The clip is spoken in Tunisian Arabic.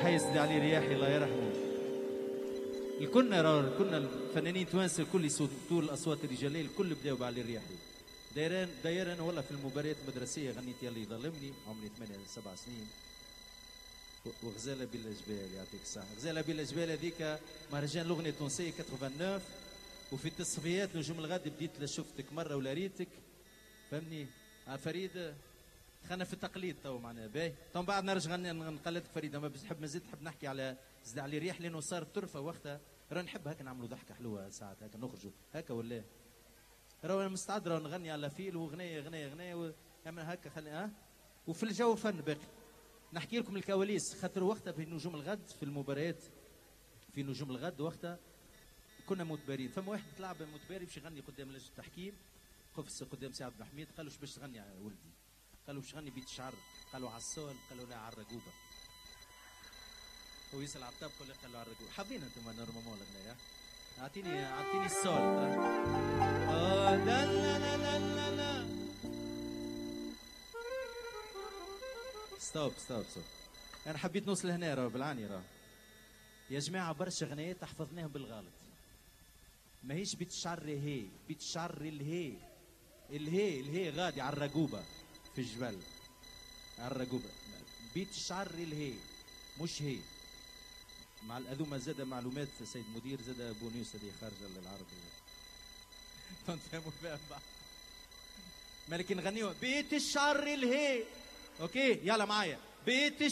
تحية سيدي علي رياحي الله يرحمه. الكلنا راه كنا الفنانين التوانسة الكل يصوتوا الاصوات الرجاليه، الكل بداوا بعلي الرياحي. دايران والله في المباريات المدرسية غنيت يلي ظلمني عمري 8 7 سنين، وغزاله بلا جبال يعطيك الصحة. غزاله بلا جبال هذيك مهرجان الاغنية التونسية 89، وفي التصفيات نجوم الغد بديت لا شفتك مرة ولا ريتك، فهمني؟ فريد خلينا في التقليد تو معناها باهي، تو من بعد نرجع نقلدك فريد، اما باش نحب مازلت نحب نحكي على زد علي ريح لانه صارت طرفه وقتها، راه نحب هكا نعملوا ضحكه حلوة ساعات هكا نخرجوا هكا ولا راه انا مستعد راه نغني على فيل وغنيه غنية غنية هكا خلي وفي الجو فن باقي. نحكي لكم الكواليس خاطر وقتها في نجوم الغد في المباريات في نجوم الغد وقتها كنا متبارين، فما واحد طلع متباري باش يغني قدام لجنة التحكيم، قفز قدام سي عبد الحميد قال له باش تغني يا ولدي؟ قالوا باش تغني بيت الشعر، قالوا على الصول، قالوا لا على الرقوبه. هو يسال على الطبق ولا قالوا على الرقوبه؟ حافظين انتم normalement الاغنية. اعطيني ال sol. لا لا لا لا لا لا stop stop stop. انا حبيت نوصل هنا راه بالعاني راه. يا جماعة برشا غنيات حفظناهم بالغلط. ماهيش بيت الشعر هي، بيت الشعر الهي. الهي الهي غادي على الرقوبه في الجبل. على الرقوبه. بيت الشعر الهي مش هي. مع هذوما زاد معلومات سيد المدير زاد بونيوس هذه خارجه للعرب. تفهموا فيها بعض. مالك نغنيو بيت الشعر الهي. OK يلا معايا بيت الشعر.